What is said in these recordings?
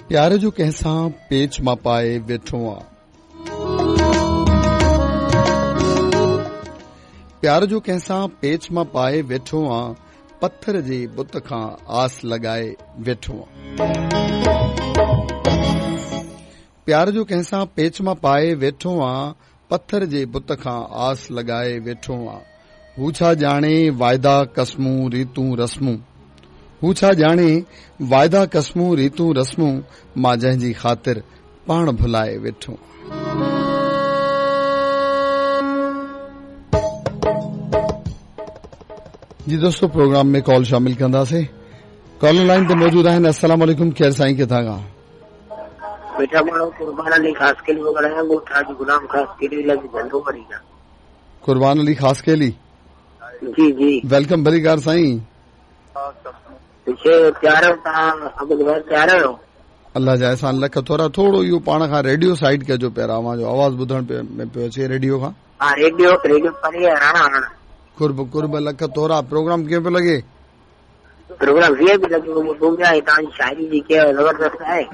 پيار جو ڪنهن سان پيچ مان پائي ويٺو آ. پيار جو ڪنهن سان پيچ مان پائي ويٺو آ پٿر جي بت کان آس لڳائي ويٺو آ. پيار جو ڪنهن سان پيچ مان پائي ويٺو آ پٿر جي بت کان آس لڳائي ويٺو آ. هو ڇا ڄاڻي واعدا قسمون ريتون رسمون هو ڇا ڄاڻي واعدا قسمون ريتون رسمون مان جنهن جي خاطر پاڻ ڀلائي ويٺو آ. جي دوستو پروگرام ۾ ڪال شامل ڪنداسين ڪالر لائن تي موجود آهن السلام عليڪم ڪير سائين ڪٿان کان. مٺا ماڻهو قربان علي خاصخيلي ٿو ڳالهايان ڳوٺ حاجي غلام خاصخيلي لڳ جهنڊو مري کان. قربان علي خاصخيلي. جي جي. Welcome ڀليڪار سائين. پڇي تيار آهيو توهان عبد ڀائي تيار آهيو. الله جا احسان لک ٿورا ٿورو اهو پاڻ کان ريڊيو سائيڊ ڪجو پيارا اوهان جو آواز ٻڌڻ ۾ پيو اچي ريڊيو کان. ها ريڊيو ريڊيو پري آهي راڻا راڻا. قرب قرب لک ٿورا پروگرام ڪيئن پيو لڳي. پروگرام وي آء پي لڳي ٻڌون پيا ۽ توهان جي شاعري جيڪي آهي زبردست آهي.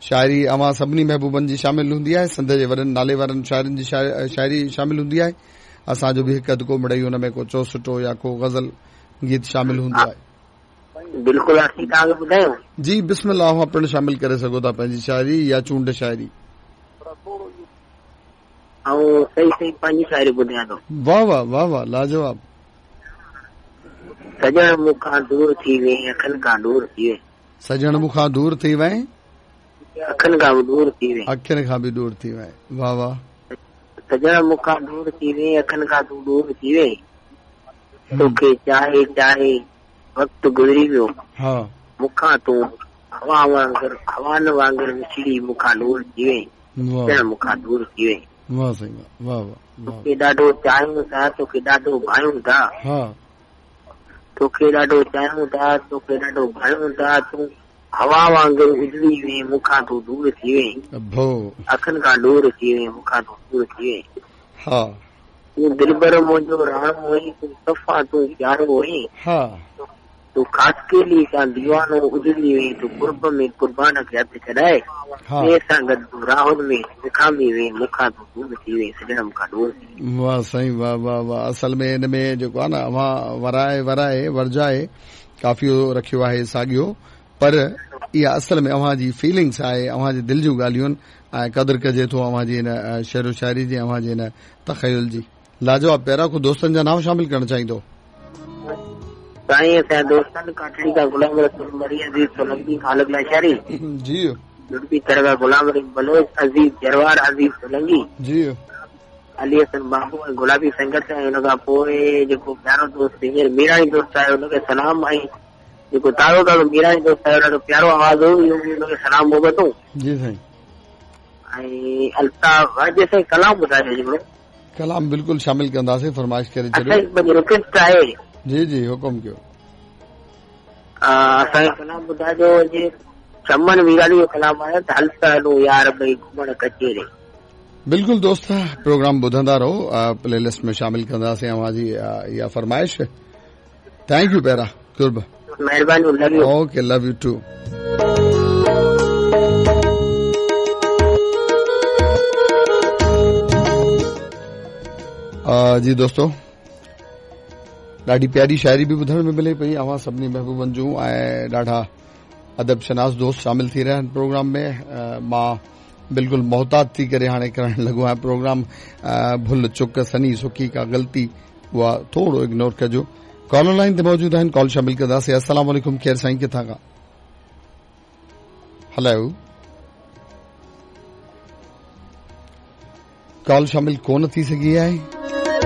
شاعري اوهان سڀني محبوبن جي شامل هوندي آهي سنڌ جي وڏن نالي وارن شاعرن جي شاعري شامل هوندي آهي اسان جو به هڪ اڌ ڪو مڙئي ان ۾ ڪو چوسٽو يا ڪو غزل گيت شامل هوندو آهي. بلڪل اسين توهان کي ٻڌايون. جي بسم الله اوهان پڻ شامل ڪري سگهو ٿا پنهنجي شاعري يا چونڊ شاعري. آئون صحيح صحيح پنهنجي شاعري ٻڌايان ٿو. واه واه واه واه لاجواب. سڄڻ مون کان دور ٿي وئين اکن کان ڏور ٿي وئين. سڄڻ مون کان دور ٿي وئين. اکن کان به ڏور ٿي وئين. اکين کان به ڏور ٿي وئين واه واه. سڄڻ مون کان دور ٿي وئين اکن کان تون ڏور ٿي وئين. توکي چاهي چاهي وقت گذري ويو. ها. مون کان تون هوا وانگر هوائن وانگر وڇڙي مون کان ڏور ٿي وئين. سڄڻ مون کان دور ٿي وئين. واه سائين واه واه واه. توکي ڏاڍو چاهيون ٿا توکي ڏاڍو ڀايون ٿا. ها. توکي ڏاڍو چاهيون ٿا توکي ڏاڍو ڀايون ٿا تون هوا وانگر اڏري وئين مون کان تون دور ٿي وئين. اڀو. اکين کان ڏور ٿي وئين مون کان تون دور ٿي وئين. ها. تون دلبر منهنجو راڻو هئين تون صفا تون پيارو هئين. ها. تون خاصخيلي کان ديوانو اجڙي وئين تون قرب ۾ قربان کي هٿ ڇڏائي ٻئي سان گڏ تون راهن ۾ وکامي وئين مون کان تون دور ٿي وئين سڄڻ مون کان ڏور ٿي وئين. واه سائين واه واه واه اصل ۾ ان ۾ جيڪو آهي نه اوهان ورائي ورائي ورجائي قافيو رکيو آهي ساڳيو پر اها اصل ۾ اوهان جي فيلنگس آهي اوهان جي دل جون ڳالهيون آهن ۽ قدر ڪجي ٿو اوهان جي ان شعر و شاعري جي اوهان جي ان تخيل جي. لاجواب پيارا ڪو دوستن جا نانء شامل ڪرڻ چاهيندو. سائين اسان جا دوستن ڪاٺڙي کان غلام رسول مري عزيز سولنگي خالق لاشاري جي جڙبي ٿر کان غلام رحيم بلوچ عزيز جروار عزيز سولنگي جي علي حسن بابو ۽ گلابي سنگت ۽ ان کان پوء جيڪو پيارو دوست هينئر ميراڻي دوست آهي ان کي سلام ۽ جيڪو تازو تازو ميراڻي دوست آهي ڏاڍو پيارو آواز هو اهو به ان کي سلام محبتون جي سائين ۽ الطاف اڄ سائين ڪلام ٻڌايو هڪڙو ڪلام بلڪل شامل ڪنداسين فرمائش ڪري ڇڏيو. اسان جي رڪويسٽ آهي. جي جي حڪم ڪيو. اسان کي ڪلام ٻڌائجو جي چمن ويراني جو ڪلام آهي ته هل ته هلون يار ٻئي گهمڻ ڪچهري. بلڪل دوست پروگرام ٻڌندا رهو پلي لسٽ ۾ شامل ڪنداسين اوهان جي اها فرمائش thank you پيارا قرب مهرباني لو you okay love you two جي دوستو ڏاڍي پياري شاعري به ٻڌڻ ۾ ملي پئي اوهان سڀني محبوبن جون ۽ ڏاڍا ادب شناس دوست شامل ٿي رهيا آهن پروگرام ۾ مان بلڪل محتاط ٿي ڪري هاڻي ڪرڻ لڳو آهيان پروگرام ڀل چڪ سني سڪي ڪا غلطي اها ٿورو اگنور ڪجو ڪالر لائن تي موجود آهن ڪال شامل ڪنداسين السلام عليڪم ڪير سائين ڪٿان کان هلو ڪال شامل ڪون ٿي سگهي آهي